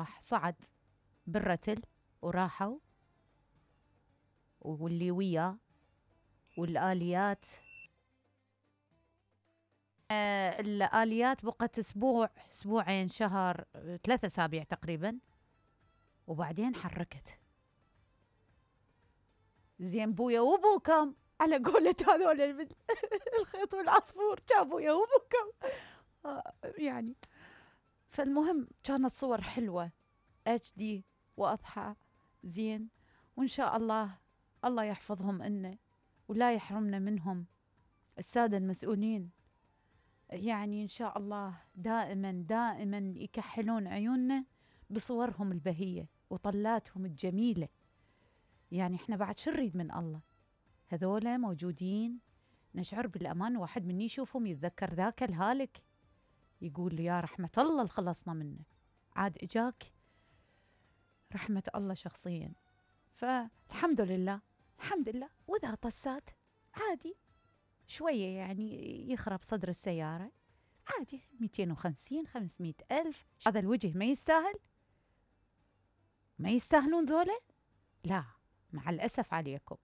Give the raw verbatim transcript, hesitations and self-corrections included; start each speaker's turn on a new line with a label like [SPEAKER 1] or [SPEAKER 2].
[SPEAKER 1] راح صعد بالرتل وراحوا، واللي وياه والآليات. آه الآليات بقت أسبوع أسبوعين شهر ثلاثة أسابيع تقريبا، وبعدين حركت. زين بويا وبوكم على قولة هذول الخيط والعصفور، كان بويا وبوكم آه يعني. فالمهم كانت صور حلوة اتش دي واضحة زين، وإن شاء الله الله يحفظهم إنا ولا يحرمنا منهم السادة المسؤولين. يعني إن شاء الله دائما دائما يكحلون عيوننا بصورهم البهية وطلاتهم الجميلة. يعني إحنا بعد شو نريد من الله؟ هذولا موجودين نشعر بالأمان. واحد مني يشوفهم يتذكر ذاك الهالك يقول يا رحمة الله اللي خلصنا منه، عاد إجاك رحمة الله شخصيا. فالحمد لله الحمد لله. وإذا طسات عادي شوية يعني يخرب صدر السيارة عادي، مئتين وخمسين خمسمائة ألف. هذا الوجه ما يستاهل؟ ما يستاهلون ذولا؟ لا مع الأسف عليكم.